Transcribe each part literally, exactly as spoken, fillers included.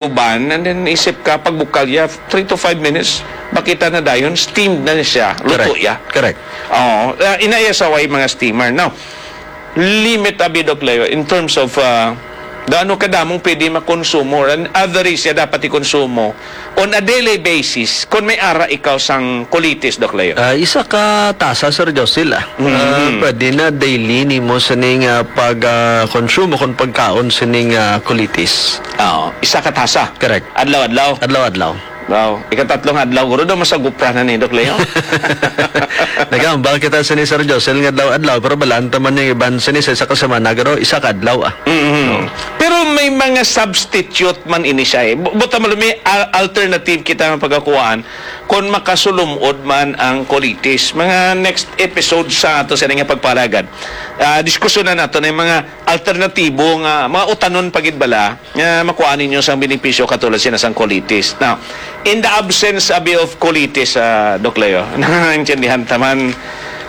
uban, and then isip ka, pag bukalya, three to five minutes, makita na dayon, steamed na siya, luto Correct. ya. Correct. Oo, uh, inaya sa way mga steamer. Now, limit abi, Doc Leo, in terms of uh, gaano kadamong pwede makonsumo, or an average siya dapat ikonsumo on a daily basis kung may ara ikaw sang colitis, Doc Leo? Ah, isa ka tasa, Sir Josil, ah. Mhm. Ah, pwede na daily nimo sining, ah, pag, ah, konsumo kung pagkaon sining, ah, colitis. Oo, isa ka tasa. Correct. Adlaw-adlaw. Adlaw-adlaw. Wow, ikatatlong adlaw, guro daw masagupra na ni, Doc Leo. Nagambal kita sini, Sir Josil, nga adlaw-adlaw, pero balaan ta man yung iban sini sa isa ka semana, guro, isa ka adlaw, ah. Mhm. No. Pero may mga substitute man ini siya, eh. Bu-, buta mo, may al-, alternative kita nga pagkakuhaan kung makasulumod man ang colitis. Mga next episode sa ato sa nga pagpalagad. Ah, diskusyonan nato na yung mga alternatibo nga, mga utanon pa gid bala nga makuha ninyo sang benepisyo katulad sina sang colitis. Now, in the absence abi of colitis, ah, Doc Leo, nangangintyandihan ta man,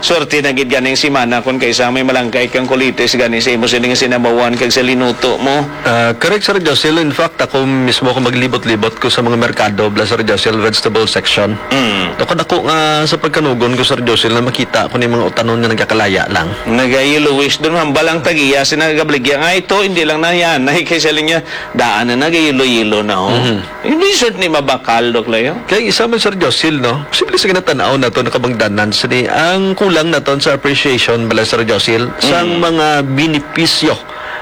swerte na gid ganing simana kung kaisa may malangkay kang colitis gani sa imo sining sinabawan kag sa linuto mo. Ah, correct, Sir Josil. In fact, ako mismo, kung maglibot-libot ko sa mga merkado, bala, Sir Josil, vegetable section, Mm. ako dako nga sa pagkanugon ko, Sir Josil, na makita ko ni mga utanon nga nagkakalaya lang. Nagayellowish dun, hambal ang tagiya, si nagabligya nga ito, hindi lang na yan. Ay, kay siling niya, daan na nagayelo-yelo na, oh. Mhm. Hindi sure ni mabakal, Doc Leo. Kay isa man, Sir Josil, no? Posible sa ginatanaw nato, nakabangdanan sini ang kulang naton sa appreciation, bala, Sir Josil, sang Mm. mga binipisyo,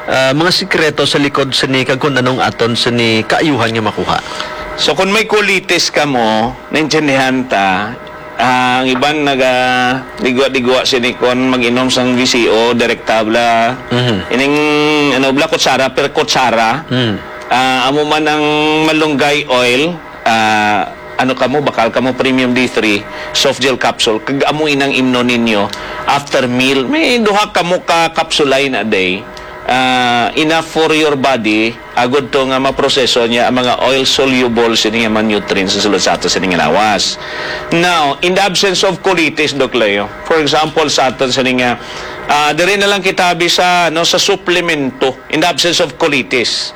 ah, mga sikreto sa likod sini kag kung anong aton sini kaayuhan nga makuha. So, kung may colitis ka mo, naintindihan ta, ah, ang iban naga digwa-digwa sini kon mag-inom sang V C O, Directabla. Mhm. Ining, ano, bala, kutsara per kutsara. Mhm. Ah, amo man ang malunggay oil, ah, ano kamo, bakal kamo premium D three, soft gel capsule. Kag amo inang imnon ninyo after meal. May duha kamo ka kapsula in a day. Ah, enough for your body, agud to nga maproseso niya ang mga oil soluble sini nga mga nutrients sa sulod sa ato sini nga lawas. Now, in the absence of colitis, Doc Leo, for example, sa aton sini nga, ah, diri na lang kita abi sa, no, sa suplemento, in the absence of colitis,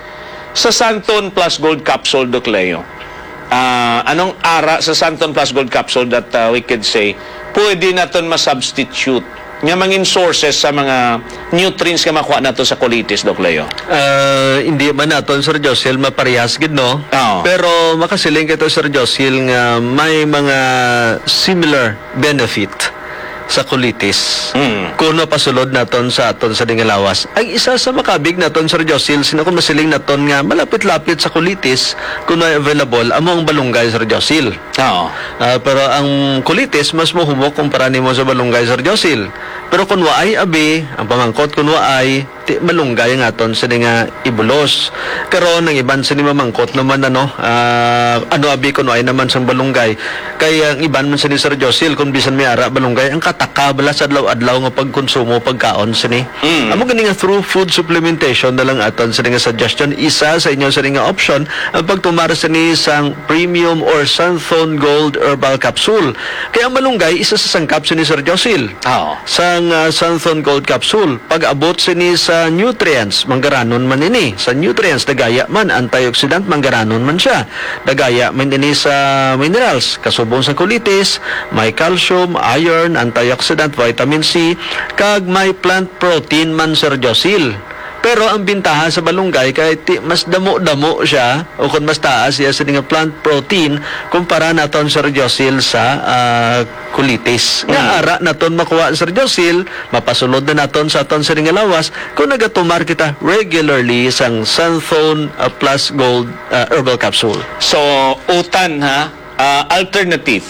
sa Santon Plus Gold Capsule, Doc Leo. Ah, anong ara sa Santon Plus Gold Capsule that, ah, we could say pwede naton ma-substitute nga mangin sources sa mga nutrients nga makuha nato sa colitis, Doc Leo? Ah, hindi man naton, Sir Josil, maparehas gid, no? Oo. Pero makasiling kita, Sir Josil, nga may mga similar benefit sa colitis Mm. kung mapasulod naton sa aton sa dingalawas. Ang isa sa makabig naton, Sir Josil, sino kung masiling naton nga malapit-lapit sa colitis, kung may available, amo ang balunggay, Sir Josil. Oo. Ah, pero ang colitis, mas mahumok kumpara nimo sa balunggay, Sir Josil. Pero kung waay, abi, ang pamangkot, kung waay, ti malunggay ang aton sini nga ibulos. Karon, ang iban sini mamangkot naman, ano, ah, ano abi kung waay naman sang balunggay? Kay ang iban man sini, Sir Josil, kung bisan may ara balunggay, ang kataka bala sa adlaw-adlaw nga pagkonsumo, pagkaon sini. Mm. Amo gani nga through food supplementation na lang aton sini nga suggestion. Isa sa inyo sini nga option ang pagtumar sini sang premium or Santhon Gold Herbal Capsule. Kay ang malunggay, isa sa sangkap sini, Sir Josil. Oo. Sang, ah, Santhon Gold Capsule, pag-abot sini sa nutrients, manggaranon man ini. Sa nutrients, dagaya man, antioxidant, manggaranon man siya. Dagaya man ini sa minerals, kasubong sa colitis, may calcium, iron, antioxidant, vitamin C, kag may plant protein man, Sir Josil. Pero ang bintaha sa balunggay kay ti mas damo-damo siya o kung mas taas siya sa nga plant protein kumpara naton, Sir Josil, sa, ah, colitis. Nga Mm. ara naton makuha, Sir Josil, mapasulod na naton sa aton sa nga lawas kung nagatumar kita regularly sang Santhon, ah, Plus Gold, ah, Herbal Capsule. So, utan, ha? Ah, alternative.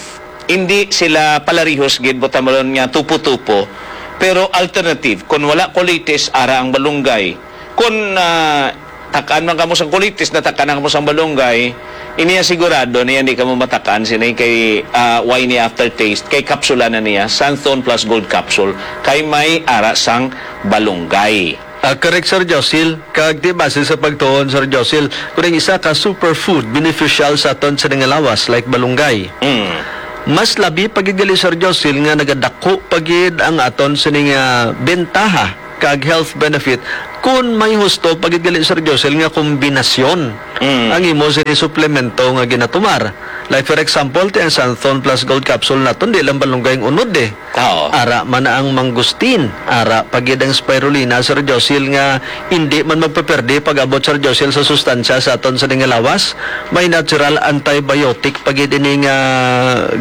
Hindi sila palarihos gid, buta mo ron nga tupo-tupo. Pero alternative, kung wala colitis, ara ang balunggay. Kung, ah, takaan man kamo sang colitis, natakaan na kamo sang balunggay, iniya sigurado niya hindi kamo matakaan sini kay, ah, way ni aftertaste, kay kapsula na niya, Santhon Plus Gold Capsule, kay may ara sang balunggay. Ah, correct, Sir Josil. Kag di base sa pagtuon, Sir Josil, kung ang isa ka superfood beneficial sa aton sa nga lawas, like balunggay. Mm. Mas labi pa gid gali, Sir Josil, nga nagadako pa gid ang aton sini nga bentaha kag health benefit Kung may husto pa gid gali, Sir Josel, nga kombinasyon Mm. ang imo sa suplemento nga ginatumar. Like, for example, ti ang Santhon Plus Gold Capsule naton, di lang balunggay ang unod, eh. Oo. Ara man na ang mangustin, ara pa gid ang spirulina, Sir Josil, nga hindi man magpaperde pag-abot, Sir Josil, sa sustansya sa aton sa nga lawas. May natural antibiotic pa gid ini nga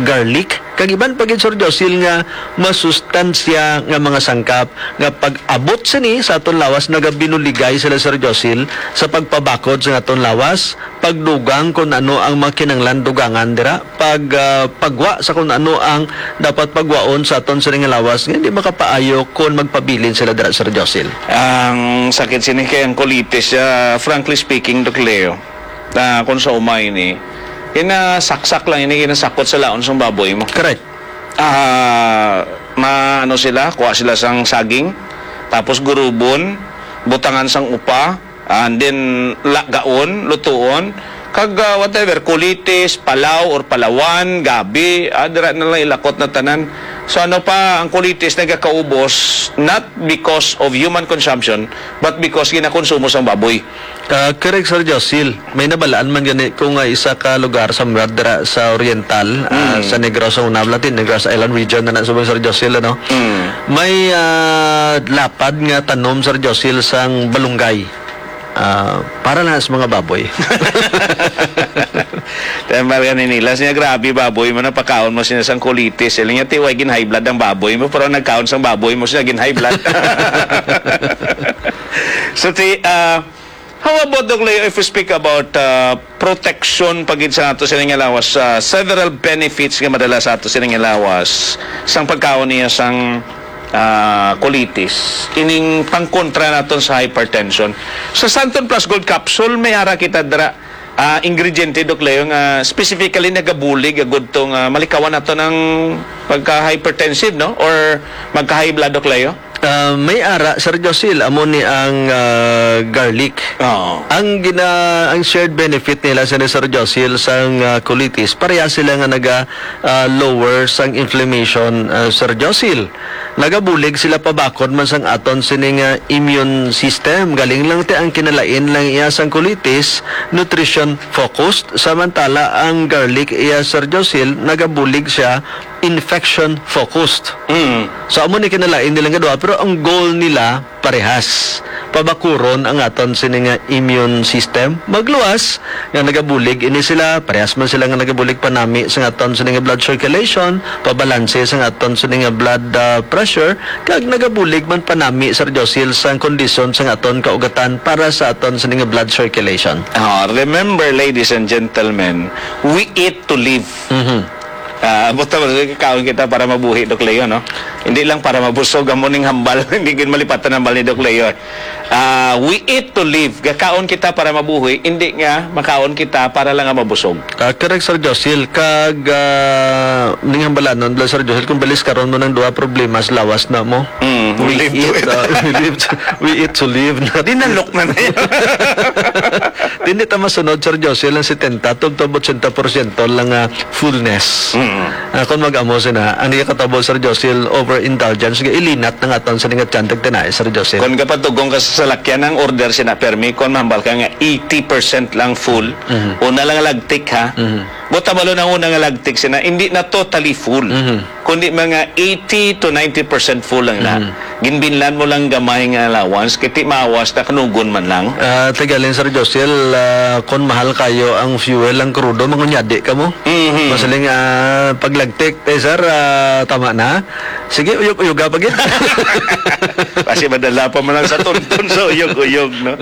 garlic. Kag iban pa gid, Sir Josil, nga masustansya nga mga sangkap nga pag-abot sini sa aton lawas, nagabinuligay sila, Sir Josil, sa pagpabakod sa aton lawas, pagdugang kung ano ang mga kinahanglan dugangan dira, pag, ah, pagwa sa kung ano ang dapat pagwaon sa aton sini nga lawas, nga hindi makapaayo kung magpabilin sila dira, Sir Josil. Ang sakit sini kay ang colitis, ah, frankly speaking, Doc Leo, ah, kung sa umay ni, kinasaksak lang ini, kinasakot sa laon sang baboy mo. Correct. Ah, ma-, ano sila, kuha sila sang saging, tapos gurubon, butangan sang upa, and then lagaon, lutuon, kag, ah, whatever, colitis, palaw or palawan, gabi, ah, dira na lang ilakot na tanan. So ano pa, ang colitis nagakaubos, not because of human consumption, but because ginakonsumo sang baboy. Ah, correct, Sir Josil. May nabalaan man gani ko nga isa ka lugar sa Murad dira sa Oriental, ah, Mm. sa Negros, sa Unablatin, Negros Island region na na subong, Sir Josil, ano? Mm. May, ah, lapad nga tanom, Sir Josil, sang balunggay. Ah, para na sa mga baboy. Tambal ka ni nila. Siya, "Grabe, baboy mo, napakaon mo sila sang colitis." Sila niya, "Ti, way gin-high blood ang baboy mo, pero nagkaon sang baboy mo, siya gin-high blood." So, ti, ah, how about, Doc Leo, if we speak about, ah, protection pa gid sa ato sini nga lawas, ah, several benefits nga madala sa ato sini nga lawas sang pagkaon niya sang, ah, colitis, ining pangkontra naton sa hypertension. Sa Santon Plus Gold Capsule, may ara kita dira, ah, ingrediente, Doc Leo, nga specifically nagabulig agud to nga malikawan nato ng pagka-hypertensive, no? Or magka-high blood, Doc Leo? Ah, may ara, Sir Josil, amo ni ang, ah, garlic. Oo. Ang gina-, ang shared benefit nila sa ni Sir Josil sang, ah, colitis, pareha sila nga naga, ah, lower sang inflammation, ah, Sir Josil. Nagabulig sila pabakod man sang aton sini nga immune system. Galing lang ti ang kinalain lang iya sang colitis, nutrition focused, samantala ang garlic iya, Sir Josil, nagabulig siya infection focused. Mm. So, amo ni kinalain nila nga duha, pero ang goal nila parehas. Pabakuron ang aton sini nga immune system. Magluwas nga nagabulig ini sila, parehas man sila nga nagabulig panami sa aton sini nga blood circulation, pabalanse sa aton sini nga blood, ah, pressure, kag nagabulig man panami, Sir Josil, sa kondisyon sa aton kaugatan para sa aton sini nga blood circulation. Ah, remember, ladies and gentlemen, we eat to live. Mhm. Ah, buta ba, kaon kita para mabuhi, Doc Leo, no? Hindi lang para mabusog, amo ning hambal, hindi gid malipatan ang hambal ni Doc Leo. Ah, we eat to live. Gakaon kita para mabuhi, hindi nga makaon kita para lang nga mabusog. Ah, correct, Sir Josil. Kag, ah, ning hambalanon, bala, Sir Josil, kung bilis karon mo ng duha problema sa lawas na mo. Mm, we We live to eat, eat. ah, we live to, we eat to live. Dinalok na na yun. Di, hindi ta masunod, Sir Josil, ang setenta, tubtob ochenta porsyento lang, ah, fullness. Mm. Ah, kung mag-amo sina, ang di katabo, Sir Josil, overindulgence, nga ilinat na nga aton sa lingat tiyan, tagtinay, Sir Josil. Kung kapatugong ka sa salakyan, ang order sina permi, kung mahambal ka nga eighty percent lang full, Mhm. una lang lagtik, ha? Mhm. Buta malo na una nga lagtik sina, hindi na totally full. Mhm. Kundi mga eighty to ninety percent full lang na. Mhm. Ginbinlan mo lang gamay nga allowance, kay ti maawas na kanugon man lang. Ah, tigaling, Sir Josil, ah, kung mahal kayo ang fuel, ang krudo, mangunyadi ka mo. Mhm. Masiling, ah, paglagtik, eh, sir, ah, tama na. Sige, uyog-uyoga pa gid. Kasi madala pa man lang sa tuntun sa uyog-uyog, no?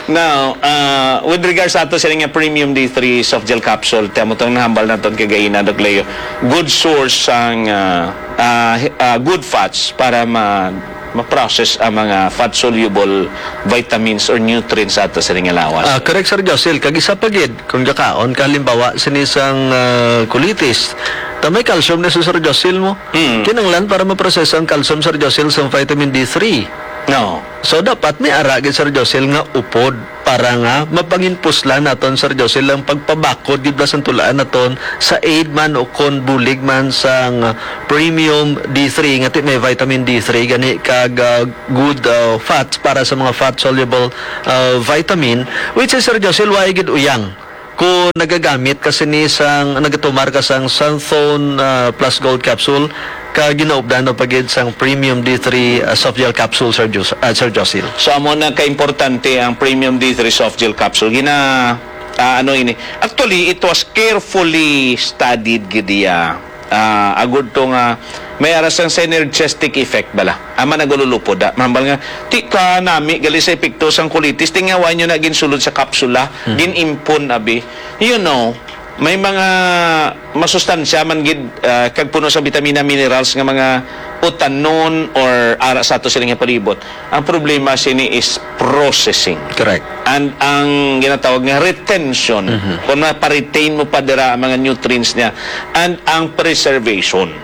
Now, ah, with regards sa ato sila nga premium D three soft gel capsule, ti amo tong nahambal naton kagaina, Doc Leo. Good source sang, ah, ah, hi-, ah, good fats para ma-, ma-process ang mga fat-soluble vitamins or nutrients sa ato sila nga lawas. Ah, correct, Sir Josil. Kag isa pa gid, kung gakaon ka, halimbawa, sini sang, ah, colitis, ta may calcium na sa, Sir Josil, mo. Mm. Kinahanglan para maproseso ang calcium, Sir Josil, sa vitamin D three. No. So, dapat may ara gid, Sir Josil, nga upod. para nga mapanginpuslan naton, Sir Josel, ang pagpabakod gid bala sang tuluan naton sa aid man o kon bulig man sang Premium D three, nga ti may vitamin D three gani kag, ah, good, ah, fats para sa mga fat-soluble, ah, vitamin, which is, Sir Josel, wala gid uyang kung nagagamit ka sini sang, nagatumar ka sang Santhon, ah, Plus Gold Capsule, ka ginaupdan pa gid sang Premium D three, ah, soft gel capsule, Sir Jus-, ah, Sir Josil. So, amo na kaimportante ang Premium D three soft gel capsule. Gina-, ah, ano ini? Actually, it was carefully studied gid iya. Ah, agud to nga may ara sang synergistic effect bala. Ama nagululupod, ah. Mahambal nga, ti ka nami gali sa epekto sang colitis, ti nga wa nyo na ginsulod sa kapsula, Mhm. gin-impon, abi. You know, may mga masustansya man gid, ah, kag puno sa bitamina, minerals nga mga utanon or ara sa ato sila nga palibot. Ang problema sini is processing. Correct. And ang ginatawag nga retention, Mhm. kung ma-retain mo pa dira ang mga nutrients niya, and ang preservation.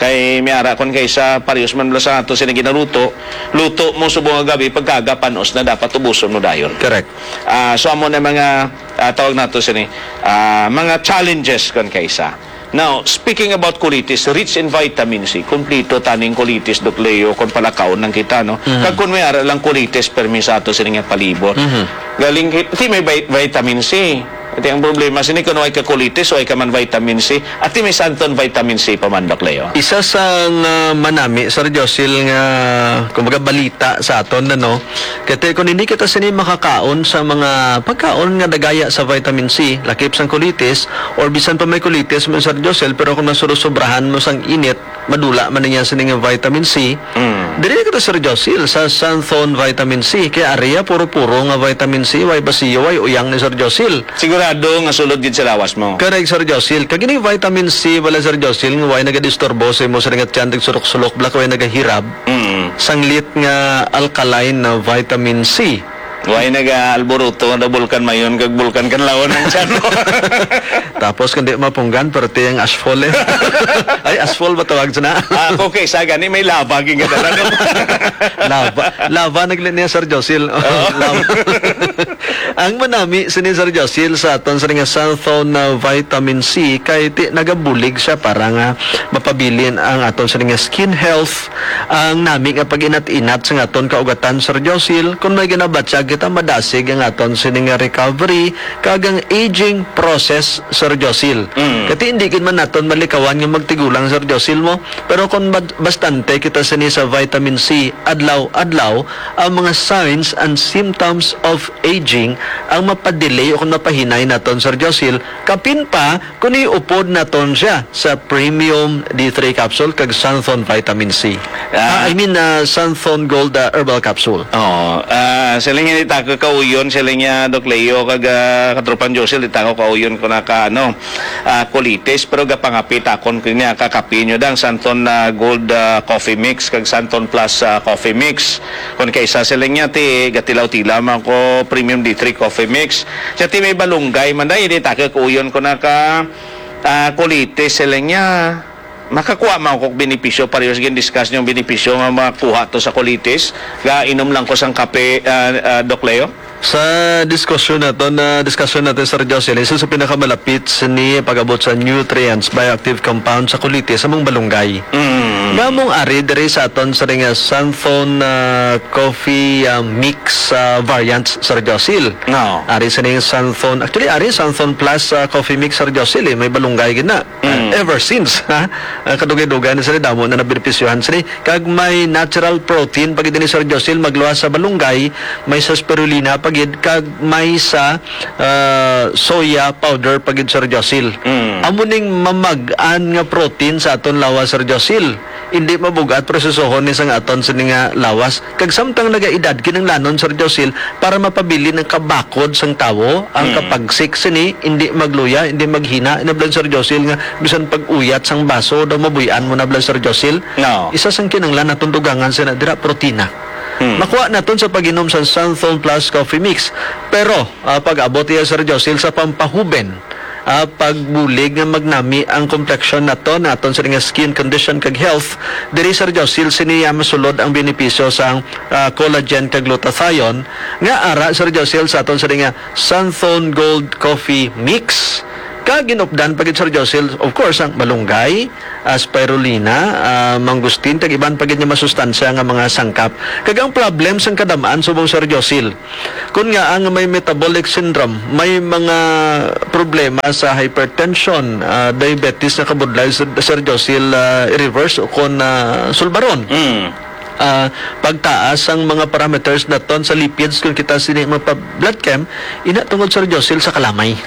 Kay may ara kon kaysa parehas man bala sa ato sini ginaluto, luto mo subong nga gabi, pagkaaga panos na dapat ubuson mo dayon. Correct. Ah, so amo na mga, ah, tawag nato sini, ah, mga challenges kon kaysa. Now, speaking about colitis, rich in vitamin C, kompleto taning colitis, Doc Leo, kung palakaon lang kita, no? Mhm. Kag kung may ara lang colitis, permi sa ato sini nga palibot. Mhm. Galing, ti may vi-, vitamin C. Ati ang problema sini, kung way ka colitis, way ka man vitamin C. Ati may Santon vitamin C pa man, Doc Leo. Isa sang, ah, manami, Sir Josil, nga, kumbaga, balita sa aton, ano? Kaya kung hindi kita sini makakaon sa mga pagkaon nga dagaya sa vitamin C, lakip sang colitis, or bisan pa may colitis mo, Sir Josil, pero kung nasurosobrahan mo sang init, madula man niya sini nga vitamin C. Mm. Diri na kita, Sir Josil, sa Santhon vitamin C. Kaya ari ya, puro-puro nga vitamin C, way basiyo, way uyang ni Sir Josil. Sigurado nga sulod gid sa lawas mo. Correct, Sir Josil. Kag ini vitamin C, wala, Sir Josil, nga way nagadisturbo sa imo sa nga tiyan, nagsulok-sulok, bala ka way nagahirab. Mm. Sanglit nga alkaline na vitamin C. Way nag-aalburuto nga bulkan Mayon kag bulkan Kanlaon ang tiyan mo. Tapos kung di mapunggan, perti ang ashfall eh. Ay, ashfall ba tawag sa na? Ah, okay, sa gani may lava, gingadala na. Lava. Lava, nagli niya, Sir Josil. Oo. Lava. Ang manami sini, Sir Josil, sa aton sa nga Santhon na vitamin C, kay ti nagabulig siya para nga mapabilin ang aton sa nga skin health. Ang nami nga pag-inat-inat sa aton kaugatan, Sir Josil, kung may ginabatyag kita, madasig ang aton sini nga recovery, kag ang aging process, Sir Josil. Mm. Kati hindi gid man naton malikawan nga magtigulang, Sir Josil, mo. Pero kung bad-, bastante kita sini sa vitamin C adlaw-adlaw, ang mga signs and symptoms of aging ang mapadelay o kung mapahinay naton, Sir Josil, kapin pa kung iupod naton siya sa Premium D three capsule kag Santhon Vitamin C. Ah. Ah, I mean, ah, Santhon Gold, ah, Herbal Capsule. Oo. Ah, siling niya, di ta ko kauyon, siling niya, Doc Leo, kag, ah, Katropang Josil, di ta ko kauyon ko na ka, ano, ah, colitis, pero gapangapi ta kon niya kakapi nyo dang Santon, ah, Gold, ah, Coffee Mix kag Santon Plus, ah, Coffee Mix. Kon kaysa sila niya, ti gatilaw-tilaw man ko Premium D three Coffee Mix. Siya ti may balunggay man dahil di ta kuyon ko na ka, ah, colitis sila niya. Makakuha man ko benepisyo, pareho sa gin-discuss niyong benepisyo nga makuha to sa colitis. Ga inom lang ko sang kape, ah, ah, Doc Leo. Sa diskusyon nato, na diskusyon natin, Sir Jocelyn, isa sa pinakamalapit sini pag-abot sa nutrients, bioactive compound sa colitis, among balunggay. Mm. Nga among ari diri sa aton sa nga Santhon, ah, coffee, ah, mix, ah, variants, Sir Josil. No. Ari sa ning Santhon, actually, ari Santhon Plus, ah, coffee mix, Sir Josil, eh, may balunggay gid na. Ah, Mm. ever since, ha? Ah, kadugay-dugay na sila, damo na nabenepisyohan sila. Kag may natural protein pa gid ni Sir Josil, magluwas sa balunggay, may sa spirulina pa gid, kag may sa, ah, soya powder pa gid, Sir Josil. Mm. Amo ning mamag-an nga protein sa aton lawas, Sir Josil. Hindi mabug-at prosesohon ni sang aton sini nga lawas. Kag samtang nagaedad, kinahanglanon, Sir Josil, para mapabilin ang kabakod sang tawo, ang Mm. kapagsik sini, hindi magluya, hindi maghina, inablan, Sir Josil, nga bisan pag-uyat sang baso daw mabuy-an mo na bala, Sir Josil. No. Isa sang kinahanglan naton dugangan sina dira, protina. Hmm. Makuha naton sa pag-inom sa Santhon Plus Coffee Mix. Pero, ah, pag-abot iya, Sir Josil, sa pampahuben, ah, pagbulig nga magnami ang kompleksyon naton, naton sini nga skin condition kag health. Diri, Sir Josil, sini iya masulod ang benepisyo sang, ah, collagen kag glutathione nga ara, Sir Josil, sa aton sini nga Santhon Gold Coffee Mix. Kag ginupdan pa gid, Sir Josil, of course, ang malunggay, ah, spirulina, ah, mangustin, kag iban pa gid nga masustansya nga mga sangkap. Kag ang problem sang kadam-an subong, Sir Josil, kun nga ang may metabolic syndrome, may mga problema sa hypertension, ah, diabetes nga kabudlay, Sir, Sir Josil, ah, i-reverse o kon, ah, sulbaron. Mm. Ah, pagtaas ang mga parameters naton sa lipids kung kita sini magpa-blood chem, ina tungod, Sir Josil, sa kalamay.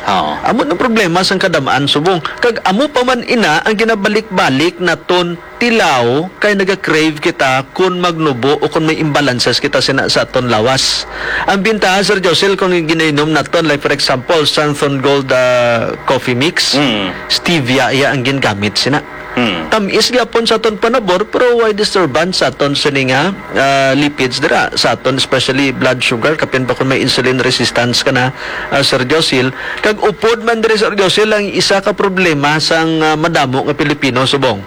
Oo. Amo ang problema sang kadam-an subong. Kag amo pa man ina ang ginabalik-balik naton tilaw kay naga-crave kita kun magnubo o kun may imbalances kita sina sa aton lawas. Ang bintaha, Sir Josil, kung ginainom naton, like for example, Santhon Gold, ah, Coffee Mix, Mm. stevia iya ang gingamit sina. Mm. Tamis gyapon sa aton panabor, pero way disturbance sa aton sini nga, ah, lipids dira sa aton, especially blood sugar, kapin pa kung may insulin resistance ka na, ah, Sir Josil. Kag upod man diri, Sir Josil, ang isa ka problema sang, ah, madamo nga Pilipino subong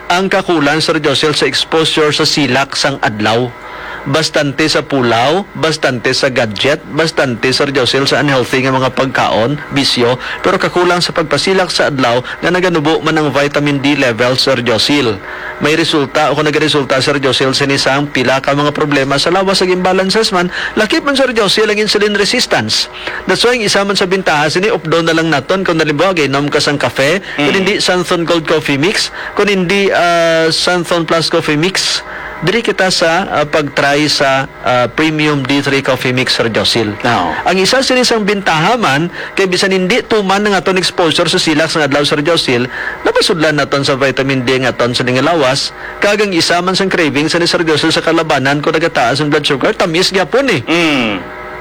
ang kakulang, Sir Josil, sa exposure sa silak sang adlaw. Bastante sa pulaw, bastante sa gadget, bastante, Sir Josil, sa unhealthy nga mga pagkaon, bisyo, pero kakulang sa pagpasilak sa adlaw nga naganubo man ang vitamin D level, Sir Josil. May resulta o kung nagaresulta, Sir Josil, sini sang pila ka mga problema sa lawas, ag imbalances man, lakip man, Sir Josil, ang insulin resistance. That's why ang isa man sa bintaha sini, updon na lang naton kung halimbawa gainom ka sang kafe, kung Mm. hindi Santhon Gold Coffee Mix, kung hindi, ah, Santhon Plus Coffee Mix, diri kita sa, ah, pag-try sa, ah, Premium D three Coffee Mix, Sir Josil. Oo. Ang isa sini sang bintaha man, kay bisan hindi tuman ang aton exposure sa silak sang adlaw, Sir Josil, napasudlan naton sa vitamin D nga aton sa nga lawas, kag ang isa man sang craving sa ni Sir Josil sa kalabanan kung nagataas ang blood sugar, tamis gyapon eh. Mm.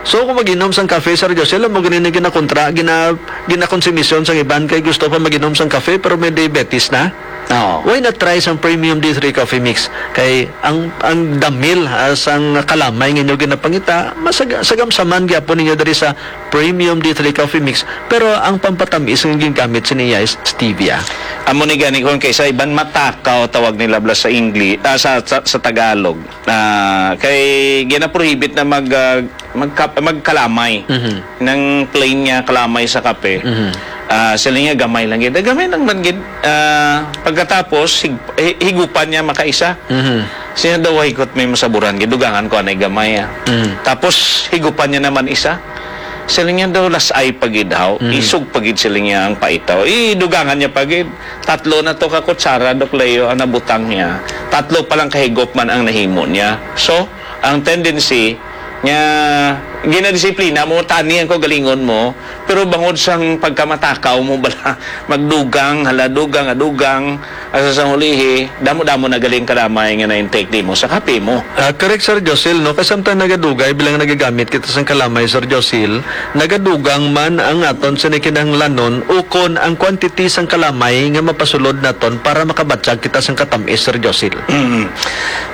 So, kung mag-inom sang kafe, Sir Josil, amo gani ni ginakontra, gina-, ginakonsumisyon sang iban kay gusto pa mag-inom sang kafe pero may diabetes na. Oo. Why not try sang Premium D three Coffee Mix? Kay ang, ang damil, ah, sang kalamay nga inyo ginapangita, masag-, sagamsaman gyapon ninyo diri sa Premium D three Coffee Mix. Pero ang pampatamis nga gingamit sa niya is stevia. Amo ni gani, kung kay sa iban matakaw tawag nila bala sa Ingli-, ah, sa, sa, sa Tagalog. Ah, kay ginaprohibit na mag, ah, magka-, magkalamay. Mhm. Nang plain nga kalamay sa kape. Mhm. Ah, sila nga gamay lang gid. Gamay lang man gid. Ah, pagkatapos, hig-, hi-, higupan niya makaisa. Mhm. Siya daw, "Ay, kot may masaburan gid. Dugangan ko anay gamay, ah." Mhm. Tapos, higupan niya naman isa. Sila nga daw, las-ay pa gid, haw. Mhm. Isog pa gid sila nga ang paitaw. Eh, dugangan niya pa gid. Tatlo na to ka kutsara, Doc Leo, ang nabutang niya. Tatlo pa lang kahigop man ang nahimo niya. So, ang tendency nga ginadisiplina mo, tani ang kaugalingon mo, pero bangod sang pagkamatakaw mo bala, magdugang, hala, dugang, adugang, asa sang hulihi, damo-damo na galing kalamay nga na-intake nimo sa kape mo. Ah, correct, Sir Josil, no? Kay samtang nagadugay, bilang nagagamit kita sang kalamay, Sir Josil, nagadugang man ang aton sini kinahanglanon ukon ang quantity sang kalamay nga mapasulod naton para makabatyag kita sang katamis, Sir Josil. Mm.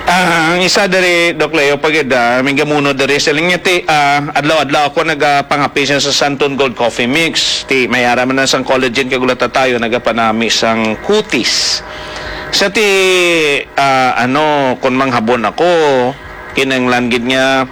Ah, ang isa diri, Doc Leo, pagid, ah, may gamuno diri sa linya ti, ah, adlaw-adlaw ako nagapangapi siya sa Santon Gold Coffee Mix. Ti, may ara man na sang collagen kag glutathione, nagapanami sang kutis. Sa ti, ah, ano, kung manghabon ako, kinahanglan gid nga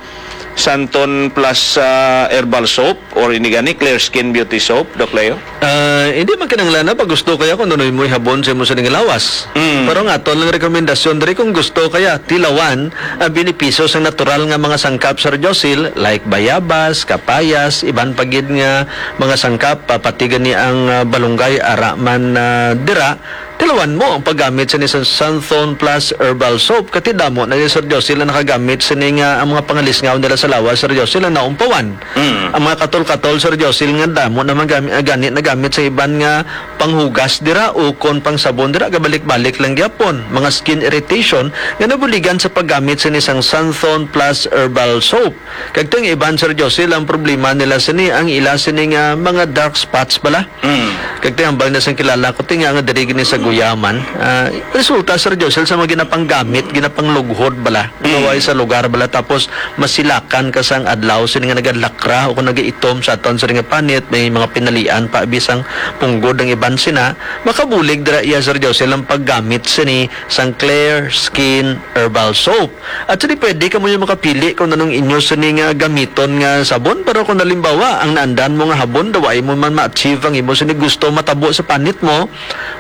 Santon plus, ah, herbal soap or ini gani Clear Skin Beauty Soap, Doc Leo? Ah, hindi man kinahanglan na pag gusto kaya kung ano mo ihabon sa imo sining lawas. Mm. Pero ang aton lang rekomendasyon diri, kung gusto kaya tilawan ang benepisyo sa natural nga mga sangkap, Sir Josil, like bayabas, kapayas, iban pa gid nga mga sangkap, papatigan ni ang, ah, balunggay, ara man, ah, dira, tilawan mo ang paggamit sa ni San-, Santhon Plus Herbal Soap. Kati damo na ni Sir Josil ang nakagamit sini nga ang mga pangalisngaw nila sa lawas, Sir Josil, ang naumpawan. Mm. Ang mga katol-katol, Sir Josil, nga damo naman gami-, ah, gani nagamit sa iban nga panghugas dira o kon pangsabon dira, gabalik-balik lang gyapon. Mga skin irritation nga nabuligan sa paggamit sini sang Santhon Plus Herbal Soap. Kag tong iban, Sir Josil, ang problema nila sini, ang ila sini nga mga dark spots bala. Mm. Kag ti hambal na sang kilala ko, ti nga nga diri gini sa Guyaman. Ah, resulta, Sir Josel, sa mga ginapanggamit, ginapanglughod bala. Mm. Naway sa lugar bala, tapos masilakan ka sang adlaw, sini nga nagalakra o kung nagaitom sa aton sini nga panit, may mga pinalian pa, bisang punggod ang iban sina, makabulig dira iya, Sir Josel, ang paggamit sini sang Clear Skin Herbal Soap. At sini pwede kamo yung makapili kung anong inyo sini nga gamiton nga sabon. Pero kung halimbawa, ang naandan mo nga habon, daw ay mo man ma-achieve ang imo sini gusto matabo sa panit mo,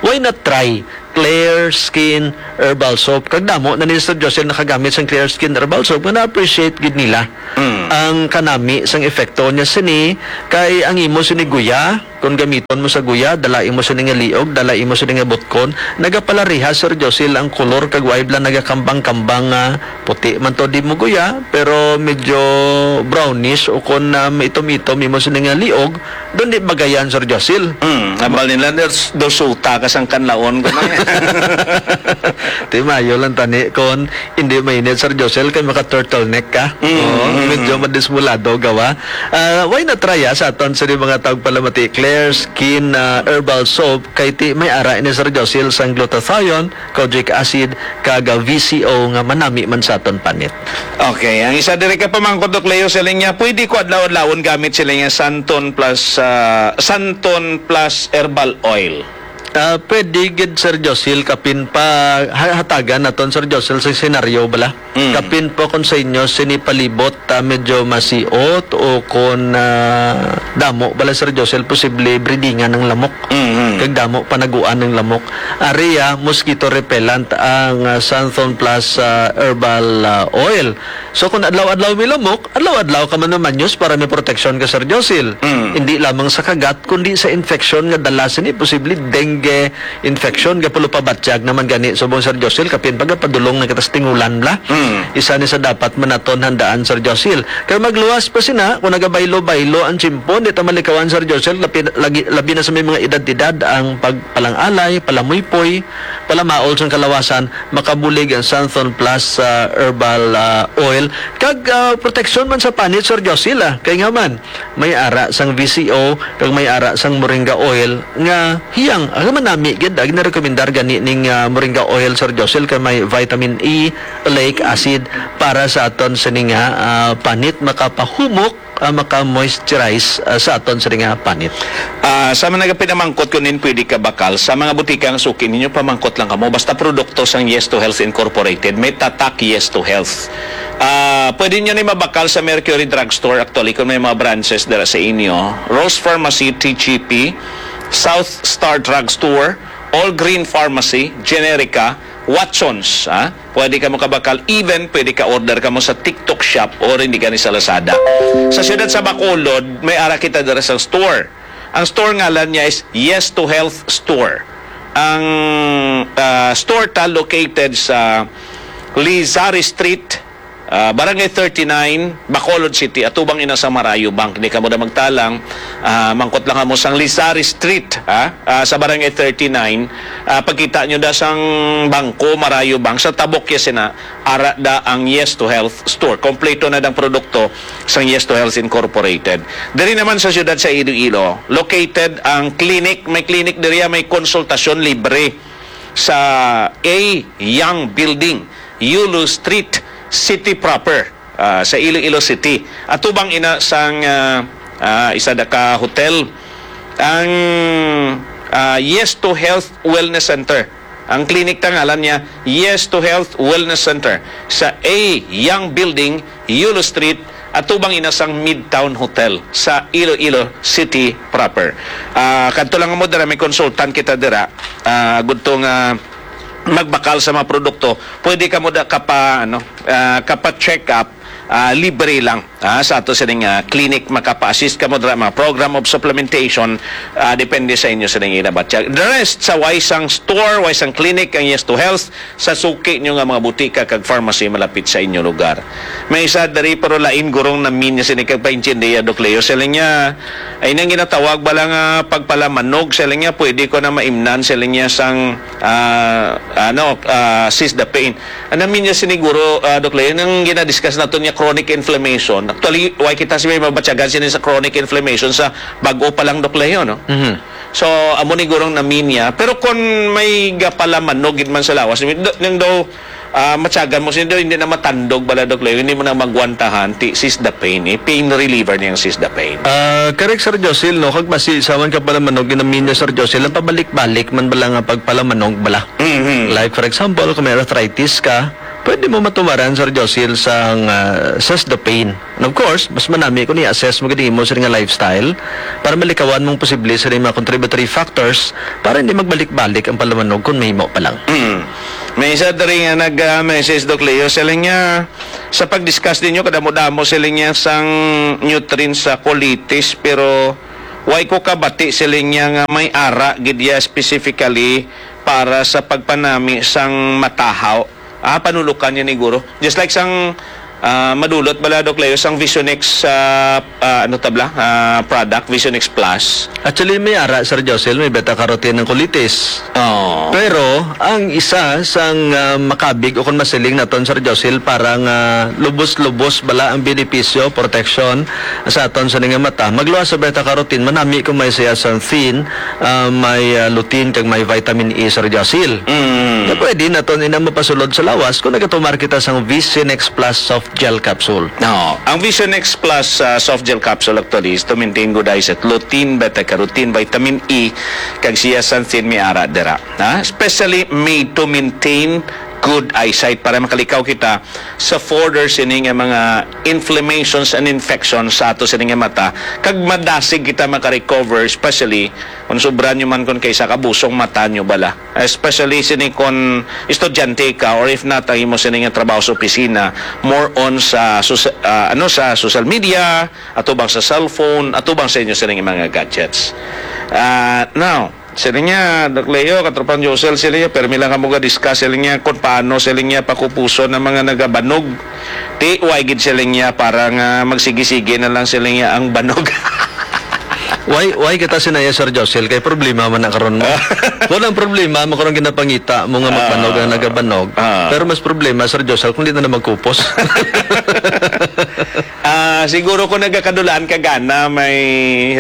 why not try Clear Skin Herbal Soap? Kag damo na ni Sir Josel nakagamit sang Clear Skin Herbal Soap nga na-appreciate gid nila Mm. ang kanami sang epekto niya sini. Kay ang imo sini guya, kung gamiton mo sa guya, dala imo sini nga liog, dala imo sini nga butkon, nagapalariha, Sir Josil, ang kolor kag way bala nagakambang-kambang nga puti man to di mo guya, pero medyo brownish o kon, ah, maitom-itom imo sini nga liog, doon di bagayan, Sir Josil. Mm, hambal nila, "Dos-, dosuta ka sang kanlaon," ko na. Ti mayo lang tani kon hindi mainit, Sir Josil, kay maka turtleneck ka. Mm, Oo, mm, medyo mm. madismulado gawa. Ah, why not try, ah, sa aton sa mga tawag palamati, Clear Skin, ah, Herbal Soap, kay ti may ara ini, Sir Josil, sang glutathione, kojic acid, kag, ah, V C O nga manami man sa aton panit. Okay, ang isa diri ka pamangkot, Doc Leo, sa linya, pwede ko adlaw-adlawon gamit sila nga Santon plus, ah, Santon plus herbal oil. Ah, pwede gid, Sir Josil, kapin pa ha-, hatagan naton, Sir Josil, sa senaryo bala. Mm. Kapin po kung sa inyo sini palibot, ah, medyo masiot o kung, ah, damo bala, Sir Josil, posible breedingan ng lamok. Mm-hmm. Kag damo panaguan ng lamok. Ari, ah, mosquito repellent ang, ah, Santhon Plus, ah, herbal, ah, oil. So kung adlaw-adlaw may lamok, adlaw-adlaw ka man mamanyos para may proteksyon ka, Sir Josil. Mm. Hindi lamang sa kagat, kundi sa infeksyon nga dala sini, posible dengue, infection, gapulo pabatyag naman gani subong, Sir Josil, kapin pagapadulong na kita sa tingulan bala. Mm. Isa ni sa dapat man naton handaan, Sir Josil. Kay magluwas pa sina, kung nagabaylo-baylo ang tiyempo, di ta malikawan, Sir Josil, labi, lagi, labi na sa may mga edad-edad, ang pagpalangalay, palamuypoy, palamaol sang kalawasan, makabulig ang Santhon Plus, ah, Herbal, ah, Oil. Kag, ah, proteksyon man sa panit, Sir Josil, ah. Kay nga man, may ara sang V C O, kag may ara sang moringa oil nga hiyang, ah, manami gid, ah, ginarekomendar gani ning, ah, moringa oil, Sir Josil, kay may vitamin E, oleic acid para sa aton sini nga, ah, panit, makapahumok, ah, maka-moisturize, ah, sa aton sini nga panit. Ah, sa mga nagapinamangkot kung nin pwede ka bakal, sa mga butika nga suki ninyo, pamangkot lang kamo. Basta produkto sang Yes to Health Incorporated, may tatak Yes to Health. Ah, pwede nyo ni mabakal sa Mercury Drugstore, actually, kung may mga branches dira sa inyo. Rose Pharmacy, T G P, South Star Drugstore, All Green Pharmacy, Generica, Watsons, ha? Pwede ka mo kabakal, even pwede ka order ka mo sa TikTok Shop o rin di gani sa Lazada. Sa siyudad sa Bacolod, may ara kita dira sa store. Ang store ngalan niya is Yes to Health Store. Ang, ah, store ta located sa Lizari Street, ah, Barangay thirty-nine, Bacolod City, atubang ina sa Marayo Bank. Di ka mo na magtalang, ah, mangkot lang mo sang Lizari Street, ha? Ah, sa Barangay thirty-nine, ah, pagkita nyo da sang bangko, Marayo Bank, sa tabok ya sina, ara da ang Yes to Health Store. Kompleto na dang produkto sang Yes to Health Incorporated. Diri naman sa siyudad sa Iloilo, located ang clinic. May clinic diri, may konsultasyon libre sa A Young Building, Yulo Street, City Proper, ah, sa Iloilo City. Atubang ina sang, ah, ah, isa da ka hotel, ang, ah, Yes to Health Wellness Center. Ang clinic ta ngalan niya, Yes to Health Wellness Center, sa A Young Building, Yulo Street, atubang ina sang Midtown Hotel sa Iloilo City Proper. Ah, kadto lang mo dira, may consultant kita dira. Ah, gudto nga magbakal sa mga produkto, pwede ka mo da kapa, ano, ah, kapa-check up, ah, libre lang, ah, sa ato sining, ah, clinic. Makapa-assist ka mo dira, mga program of supplementation, ah, depende sa inyo sining inabatyag. The rest, sa way sang store, way sang clinic, ang Yes to Health, sa suki nyo nga mga butika kag pharmacy malapit sa inyo lugar. May isa diri, pero lain gurong namin niya sini kag paintindiya, Doc Leo. Siling niya, ay nang ginatawag bala nga pagpalamanog, siling niya, pwede ko na maimnan, siling niya, sang, ah, ano, ah, sis the pain. Ang namin niya siniguro, ah, Doc Leo, nang ginadiscuss nato niya chronic inflammation, Actually, why kita si may mabatyagan sini sa chronic inflammation sa bag-o pa lang, Doc Leo, no? Mhm. So, amo ni gurong naminya. Pero kung may gapalamanog gid man sa lawas, nang daw, ah, matyagan mo, sini daw, hindi na matandog bala, Doc Leo, hindi mo na magwantahan, ti, sis the pain, eh. Pain reliever niyang sis the pain. Ah, correct, Sir Josil, no? Kag basi sa man ka pala manog, ginaminya, Sir Josil, ang pabalik-balik man bala nga pagpalamanog bala. Mhm. Like, for example, kung may arthritis ka, pwede mo matumaran, Sir Josil, sang, ah, sis the pain. And of course, mas manami kung i-assess mo gid imo sila nga lifestyle para malikawan mong posible sila mga contributory factors para hindi magbalik-balik ang palamanog kung mahimo pa lang. Mm. May isa diri nga nag-message, Doc Leo, sila niya, sa pag-discuss ninyo, kadamo-damo sila niya sang nutrients sa colitis, pero why ko kabati sila niya nga may ara gid ya specifically para sa pagpanami sang matahaw. Ah, panulukan niya ni guro. Just like sang, ah, madulot bala, Doc Leo, sang Visionex, ah, ah, ano tabla? Ah, product, Visionex Plus. Actually, may ara, Sir Josil, may beta-carotene ng colitis. Oh. Pero, ang isa sang, ah, makabig o kung masiling naton, Sir Josil, para nga lubos-lubos bala ang benepisyo, protection sa aton sa nga mata. Magluwas sa beta-carotene, manami kung may siya sa thin, ah, may, ah, lutein kag may vitamin E, Sir Josil. Mm. Na pwede naton ina mapasulod sa lawas kung nagatumar kita sang Visionex Plus Soft Gel Capsule. No, ang Visionex Plus, ah, Soft Gel Capsule actually is to maintain good eyesight, lutein, beta-carotene, vitamin E, kag siya sa thin may ara dira. Ha? Especially made to maintain good eyesight para makalikaw kita sa further sini nga mga inflammations and infections sa ato sini nga mata, kag madasig kita makarecover, especially kung sobra nyo man kung kay sa kabusong mata nyo bala, especially sini kon estudyante ka, or if not, ang imo sini nga trabaho sa opisina, more on sa sosa-, ah, ano, sa social media, atubang sa cellphone, atubang sa inyo sini nga mga gadgets. Ah, now, sila niya, Doc Leo, Katropang Josel, sila niya, permi lang kamo ga-discuss, sila niya, kung paano sila niya pakupuson ang mga nagabanog. Ti, why gid sila niya, para nga magsige-sige na lang sila niya ang banog. Why, why kita sinaya, Sir Josel? Kay problema man na karon mo. Kung ang problema mo karon ginapangita mo nga magbanog ang nagabanog. Ah. Pero mas problema, Sir Josel, kung di na na magkupos. Ah, siguro kung nagakadulaan ka gana, may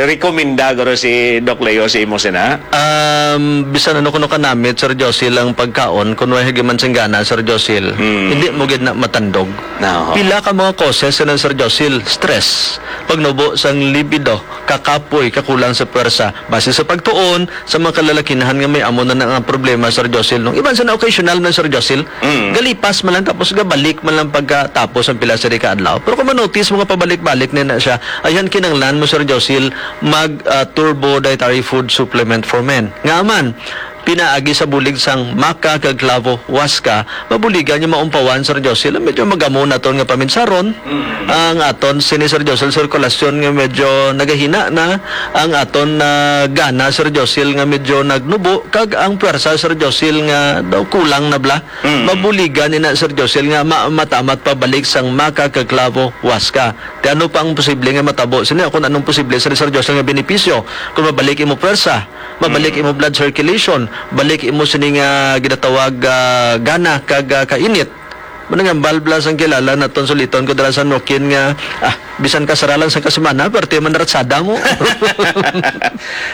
rekomenda guro si Doc Leo sa imo sina? Um, bisan ano kuno kanamit, Sir Josil, ang pagkaon, kung way hagi man sing gana, Sir Josil, Hmm. hindi mo gid na matandog. No. Pila ka mga causes na, Sir Josil, stress, pagnubo sang libido, kakapoy, kakulang sa pwersa. Base sa pagtuon, sa mga kalalakinhan nga may amo na nga problema, Sir Josil, no? Iban sa na occasional man, Sir Josil, Mm. galipas man lang tapos gabalik man lang pagkatapos ang pila sa di ka adlaw. Pero kung manotice mo nga pabalik-balik na na siya, ayan kinanglan mo, Sir Josil, mag, ah, turbo dietary food supplement for men. Nga man, pinaagi sa bulig sang maca kag clavo huasca, mabuligan nga maumpawan, Sir Josil, ang medyo magamo naton nga paminsaron, Mm. ang aton sini, Sir Josil, sirkulasyon nga medyo nagahina na, ang aton na gana, Sir Josil, nga medyo nagnubo, kag ang pwersa, Sir Josil, nga daw kulang na bala. Mm. Mabuligan ina, Sir Josil, nga ma-, matamat pabalik sang maca kag clavo huasca. Ti ano pa ang posible nga matabo sini? Kung anong posible, Sir, Sir Josil, nga benepisyo? Kung mabalik imo pwersa, mabalik Mm. imo blood circulation, balik imo sini nga ginatawag, ah, gana kag, ah, kainit. Muna nga, balbla sang kilala naton suliton ko dira sa Nokin nga, ah, bisan ka sara lang sa kasimana, pero ti man ratsada mo.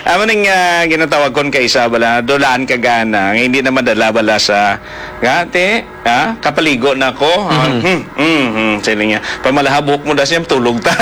Amo ning, ah, ginatawag kon kaisa bala, dulaan ka gana, nga hindi na madala bala sa, nga, ti, ah, kapaligo na ko. Ah, Mhm. hmm, hmm, hmm, sila niya. Pamalaha buhok mo, das niya, tulog ta.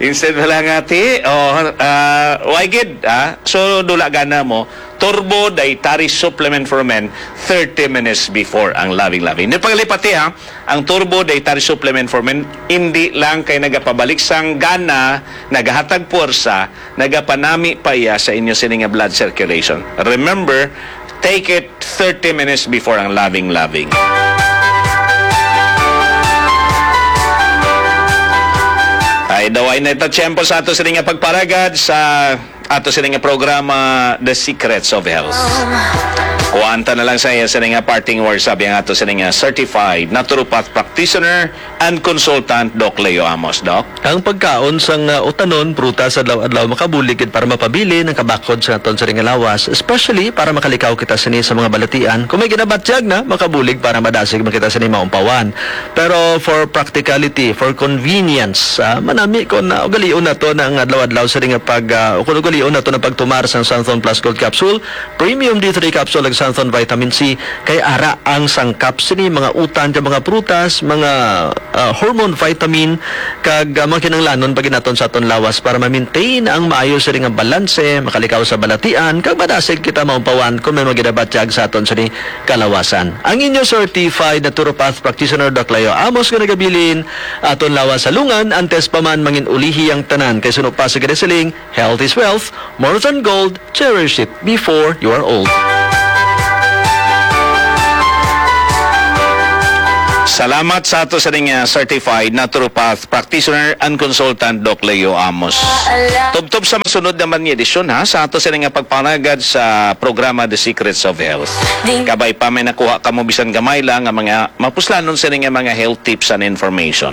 Instead bala nga, ti, oh, ah, why gid, ah? So, dula gana mo, Turbo Dietary Supplement for Men, thirty minutes before ang Loving Loving. Hindi pagalipati, ha, ang Turbo Dietary Supplement for Men, hindi lang kay nagapabalik sang gana, nagahatag puwersa, nagapanami pa iya sa inyo sini nga blood circulation. Remember, take it thirty minutes before ang Loving Loving. Ay, daw ay na ito tiyempo sa ato sini nga pagparagad sa ato sini nga programa, The Secrets of Health. Kuwanta na lang sa iya sini nga parting words, sabi ang ato sini nga certified naturopath practitioner and consultant, Doc Leo Amos. Doc? Ang pagkaon sang, ah, utanon, prutas, adlaw-adlaw makabulig gid para mapabilin ang kabakod sa aton sini nga lawas, especially para makalikaw kita sini sa mga balatian. Kung may ginabatyag na, makabulig para madasig man kita sini maumpawan. Pero for practicality, for convenience, ah, manami kon, ah, ugalion nato na ang adlaw-adlaw sini nga pag, ah, o kon ugalion nato na pagtumar sang Xanthone Plus Gold Capsule, Premium D three Capsule, ug Xanthone Vitamin C, kay ara ang sangkap sini, mga utan kag mga prutas, mga, ah, hormone vitamin, kag, ah, mga kinahanglanon pa gid naton sa aton lawas para ma-maintain ang maayo sini nga balanse, makalikaw sa balatian, kag madasig kita maumpawan kung may mga ginabatyag sa aton sini kalawasan. Ang inyo certified naturopath practitioner, Doc Leo Amos, nga nagabilin, aton lawas sa lungan, antes pa man mangin-ulihi ang tanan, kay suno pa sa ginasiling, "Health is wealth, more than gold, cherish it before you are old." Salamat sa ato sa ning, ah, certified naturopath practitioner and consultant, Doc Leo Amos. Tubtob sa masunod naman nga edisyon, ha, sa ato sa ning, ah, pagpanagad sa programa The Secrets of Health. Kabay pa may nakuha kamo bisan gamay lang nga mga mapuslanon sa ning, ah, mga health tips and information.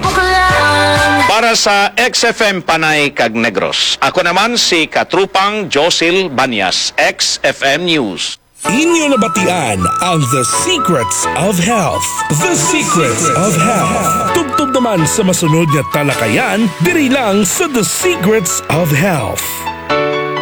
Para sa X F M Panay kag Negros, ako naman si Katrupang Josil Banyas, X F M News. Inyo nabatian ang The Secrets of Health. The Secrets of Health. Tubtob naman sa masunod nga talakayan diri lang sa The Secrets of Health.